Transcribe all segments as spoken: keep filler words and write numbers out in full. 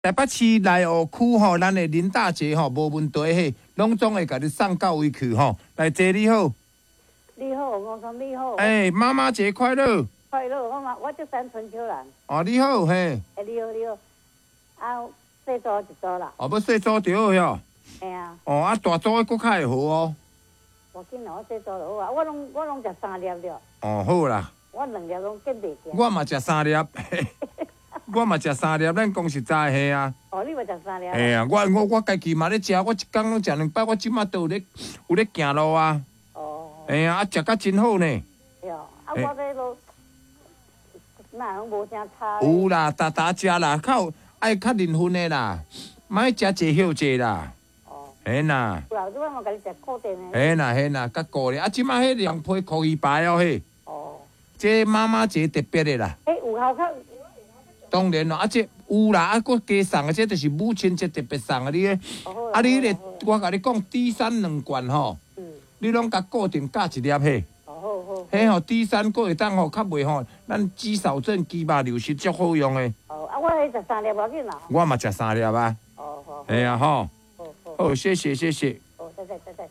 台北市內湖區吼，咱的林大姐吼，無問題嘿，攏總會共你送到位去吼。來，姐你好。你好，我說你好。欸，媽媽節快樂。快樂，我嘛，我叫三春秋蘭。哦，你好，嘿。欸，你好，你好。啊，細組一組啦。哦，欲細組著好喲。嘿啊。哦，啊，大組的閣較會好哦。無緊啦，我細組就好啊，我攏我攏食三粒了。哦，好啦。我兩粒攏見袂見。我嘛食三粒。我嘛食三粒，咱講實在嘿啊。哦，你嘛食三粒。嘿啊，我我我家己嘛咧食，我一工攏食兩擺，我這馬都有咧有咧行路啊。哦。嘿啊，啊食甲真好呢。對，啊我這都，哪攏無啥差。有啦，逐逐食啦，較愛較認份的啦，莫食濟歇濟啦。哦。嘿啦。有啦，這擺嘛共你食固定的。嘿啦嘿啦，較顧咧，啊這馬彼涼皮箍魚排哦彼。哦。這媽媽節特別的啦。欸，有效較。當然咯，啊這有啦，啊閣加送的，這就是母親節特別送的，你个，啊你彼個，我共你講，D 三兩罐吼，你攏共固定加一粒彼。哦好好。彼吼 D 三閣會當吼較袂吼，咱肌少症、肌肉流失足好用的。哦，啊我彼食三粒無要緊啦。我嘛食三粒啊。哦好。嘿啊吼。好好。好，謝謝謝謝。好，謝謝謝謝。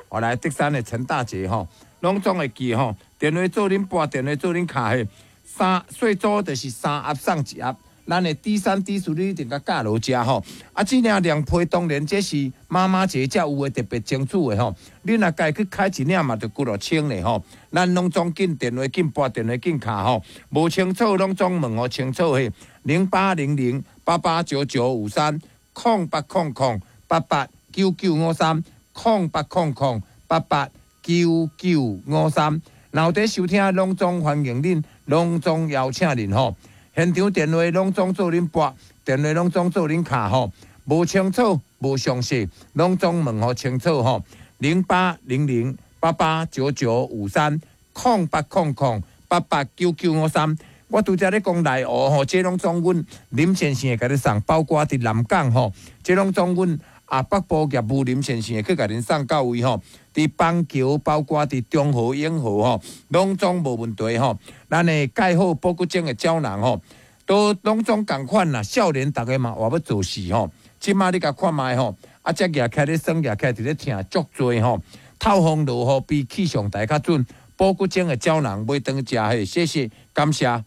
我來竹山的陳大姐吼，攏總會記吼，電話做恁撥，電話做恁敲彼。三細組就是三盒送一盒，咱的 D 三 D 四你一定共加落食吼。啊，這領涼皮當然這是媽媽節才有的特別爭取的吼。你若家去開一領嘛，就幾落千咧吼。咱攏總緊電話緊撥，電話緊敲吼。無清楚攏總問予清楚彼，零八零零八八九九五三，空八空空八八九九五三，空八空空八八九九五三。若有佇收聽，攏總歡迎恁，攏總邀請恁吼。現場電話攏總做恁撥，電話攏總做恁敲吼。無清楚、無詳細，攏總問予清楚吼。零八零零八八九九五三，空八空空八八九九五三。我拄才咧講內湖吼，這攏總阮林先生會共你送，包括佇南港吼，這攏總阮啊北部業務林先生會去共恁送到位吼。佇板橋，包括佇中和、永和吼，攏總無問題吼。咱的蓋好保骨精的膠囊吼，都攏總仝款啦。少年逐家嘛，活欲做事吼。這馬你共看覓吼，啊，這舉起來咧耍，舉起來佇咧疼足濟吼。透風落雨比氣象台較準，保骨精的膠囊買轉食彼，謝謝，感謝。